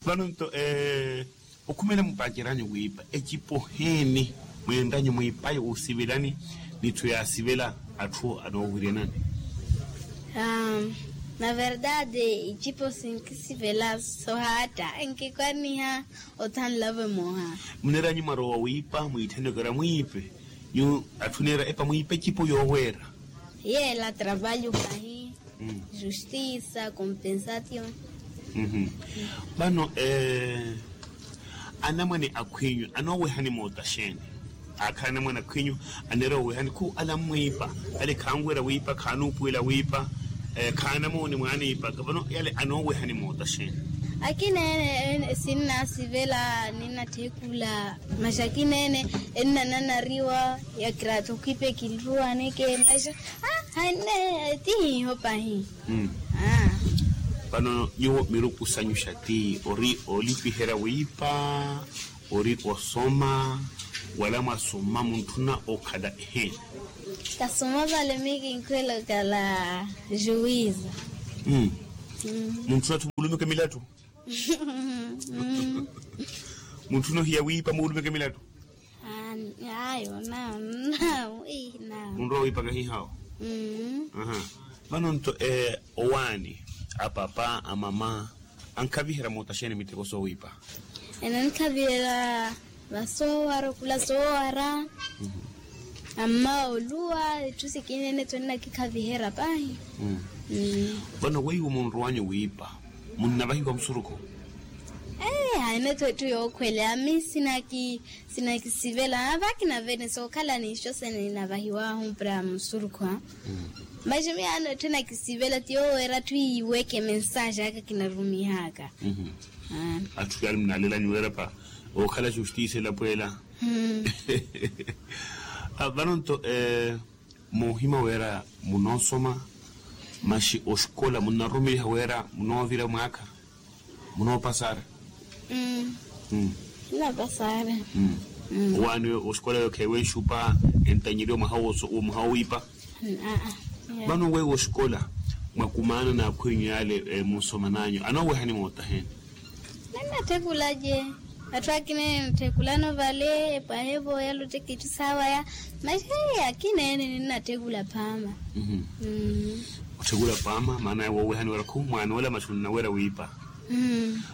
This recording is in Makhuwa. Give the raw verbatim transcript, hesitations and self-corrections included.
Vano nto okhumela mupaaceranyu wiipa ecipo heeni? Mweenranyu mwiipayo wusivelani n'itthu yaasivela atthu anoowiryanani? Na verdade icipo sinkisivela sohaatta nkikwanniha. Othanlavo emoha. Muneeranyu mwarowa wiipa mwiitthani okera mwiipe? Nyuwo atthu neera epa mwiipe ecipo yooweera. Yeela trabalho pahi. Justisa compensation. Vano anamwane akhwinyu anoowehani moota xeeni? Akhala anamwane akhwinyu aneera owehani khu ala mmwiipa, ale khanweera wiipa khanuupuwela wiipa. Khaanamooni mwaaniipaka vano yale anoowehani moota xeeni? Akina ene sinnasivela ninnatthekula. Masi akina ene ennananariwa ya kiraatho khwiipa ekinruwaneke masi. Hanne ti hiiho pahi. Vano nyuwo miruku sanyu xa ti ori olipiherya wiipa, ori osoma, wala mwasoma muntthuna okhala eheeni? Kasoma vale mikinkhwela okhala juwiza. Muntthuna atthu muulumeke milattu? Muntthuna ohiya wiipa muulumeke milattu? Ayo nawo nawo. Munrowa wiipaka hihawo. Vano nto owaani, apapa amama ankhaviherya moota xeeni miteko soowiipa? Ene ankhaviherya vasoowara okhula soowara. Amma oluwa itthu sikina ene tho ennakikhaviherya pahi. Vano weiwo munrowanyu wiipa munnavahiwa musurukhu? Ee hayi ene tho itthu yookhwele ami sinaki sinakisivela avakina vene sookhala ninxo sene ninavahiwahu para musurukhu. Masi miyaano etthu enakisivela ti yooweera atthu iiweke mensaaxi aka kinarumihaka. Atthu yaani munalelanyu weerapa ookhala justice elapweela. Vano nto moohima weera munoosoma masi oxikola munnarumiliha weera munoovira mwaakha? Munoopasara? Nnaapasara. Owaani oxikola yookheiwa enxupa entanyeriwa mwaha wowiipa? Vano weiwo oxikola mwakumaana n'akhwinyu yaale munsoman'anyu anoowehani moota heeni? Ninnatthekulace. Atthu akina ene nttthekulano vale epwahe vooyala ottekitthi saawaya. Masi akina ene ninnatthekula phaama. Otthekula phaama maana ya woowehani wira khu mwaan'ola masi onnaweera wiipa.